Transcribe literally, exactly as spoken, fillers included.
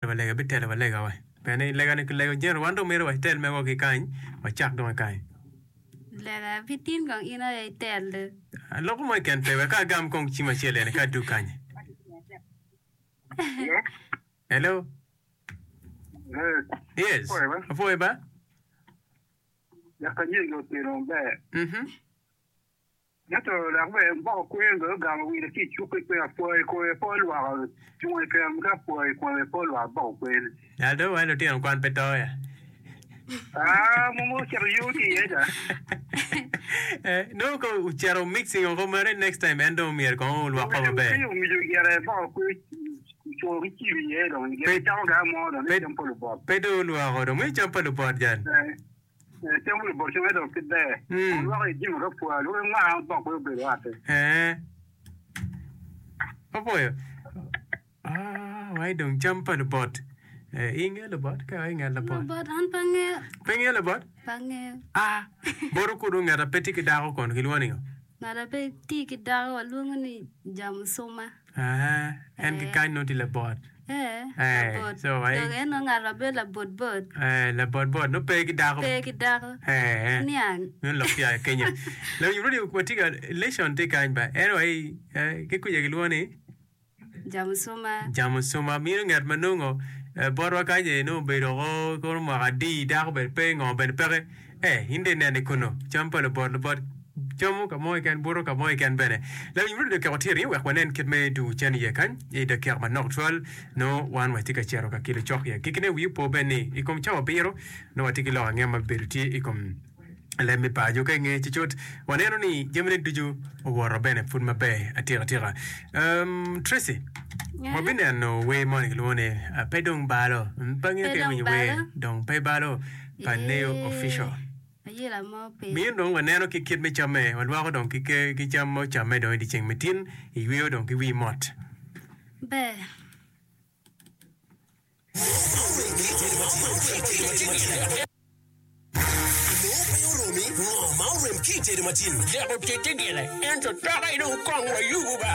wa lega bitelo wa lega wa. Pien lega ni kilego jeno wan dong myero watel megwa ki kany, wacak dong ki kany. Lega pi tin kong in aye itel. Aloko mo keken pe wek agam kong cim acel eni ka adug kany. Hello. Yes. Apwoyo ba? Dok anyegi otino maber. Mhm. Ento dok bene boko kwer bene ogamo wire ki i cuk-ki pe apwoyo kome pe olwoko cunge keken ka apwoyo kome pe olwoko boko kwer. Dal dong wai lutino kwan pe to ya. Ah, mumu ocito yo tye iye ca. Eh, nongo ka ocito mixing oko mere next time en dong myero kong olwoko maber. Omiyo omiyo gire boko kwer oculo ki cim iye dong gire camo ga mo dong ni cam pa lubot. Pe dong olwoko dong me cam pa lubot jan. Eh, eh, cam pa lubot cam dong pe ber. Mm. Olwoko i jimo ka pwa lwoko ngwa boko kwer obedo ate. Eh. Opwoyo. Ah, wai dong cam pa lubot. Eh, inge lubot ka inge lubot. Lubot an pe angeyo. Pe ingeyo lubot? Pe angeyo. Ah, boto kudu ngat a pe tye ki dako kono kilwongo ningo? Ngat a pe tye ki dako walwongo ni jamucuma. Ah, en ki Eh. kany nongo tye labot. Eh, Eh, labot. so wai- Dong en nongo ngat ma bedo labot bot. Eh, labot bot nongo pe ki dako. Pe ki dako. Eh, eh. Niang. Meno lok tye a Kenya. Lawiny radio watye ka lesson tye kany ba. En wai eh, ki kuca kilwongo ni Jamucuma. Jamucuma mino ngat ma nongo eh, botwa kany eh, nongo obedo oko kono mwaka adi dako bene pe ngo bene peke eh in dong ineno i kono cam pa lubot lubot camo ka mo keken buto ka mo keken bene lawiny radio dakika watye ringo wek wanen kit me dwogo cen iye kany i dakika manok tutwal nongo wan watye ka cito ka kelo cok i agikine wi opo bene ni i kom cawa abiro nongo watye ki lok ange ma bibedo tye i kom leb me paco ka inge ci cut waneno ni jamine ducu owoto bene pud maber atika tika. Um, Tracy, Yeah. wabineno wer moni kilwongo ni uh, pe dong balo. Mm, Pe angeyo Pe ka dong iwinyo wer balo. dong pe balo pa Neo Eh, Official. Ayela mo pe. Miyo dong waneno ki kit me camme, walwako dong ki, ke- ki cam ma ocamme dong i dyeceng me tin, iyweyo dong ki wi mot. Ber. Nongo pe oromi, ngo ma orem ki i tedo matin? Dek otitti gire, ento toka dong kong wayubo ba.